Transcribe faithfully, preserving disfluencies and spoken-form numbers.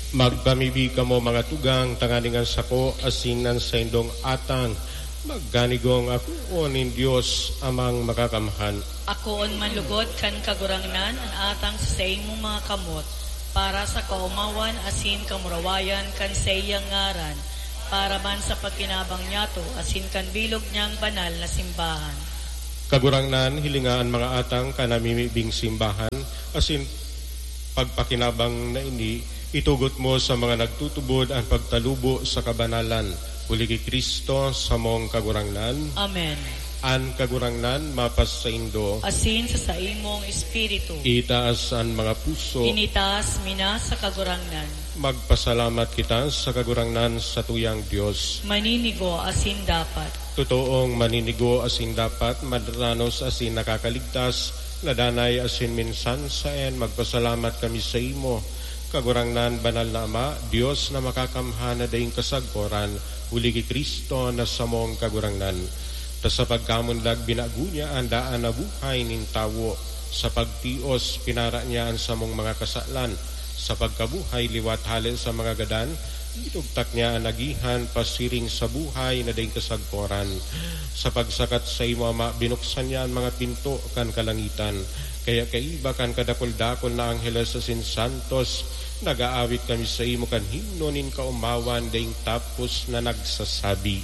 Magpamibi kamo, mga tugang, tanganing an sako asin an saindong atang magkanigong akoon nin Dios Amang Makakamhan. Akoon man lugod kan Kagurangnan an atang sa saimong mga kamot, para sa kaomawan asin kamurawayan kan saiyang ngaran, para man sa pagkinabang niyato asin kan bilog niyang banal na simbahan. Kagurangnan, hilinga an mga atang kan namimibing simbahan, asin pagpakinabang na ini, itugot mo sa mga nagtutubod an pagtalubo sa kabanalan, huli ki Cristo, samong Kagurangnan. Amen. An Kagurangnan mapasaindo. Asin sa saimong espiritu. Itaas an mga puso. Initaas mi na sa Kagurangnan. Magpasalamat kita sa Kagurangnan, satuyang Dios. Maninigo asin dapat. Totoong maninigo asin dapat, madranos asin nakakaligtas, na danay asin minsan saen, magpasalamat kami saimo, Kagurangnan, Banal na Ama, Dios na makakamhan na daing kasagkoran, huli ki Cristo na samong Kagurangnan. Ta sa pagkamundag, binago niya an daan na buhay nin tawo. Sa pagtios, pinara niya an samong mga kasalan. Sa pagkabuhay liwat hale sa mga gadan, itugtak niya an agihan pasiring sa buhay na daing kasagkoran. Sa pagsakat saimo, Ama, binuksan niya an mga pinto kan kalangitan. Kaya kaiba kan kadakul-dakul na angheles asin santos, nag-aawit kami saimo kan himno nin kaomawan daing tapos na nagsasabi,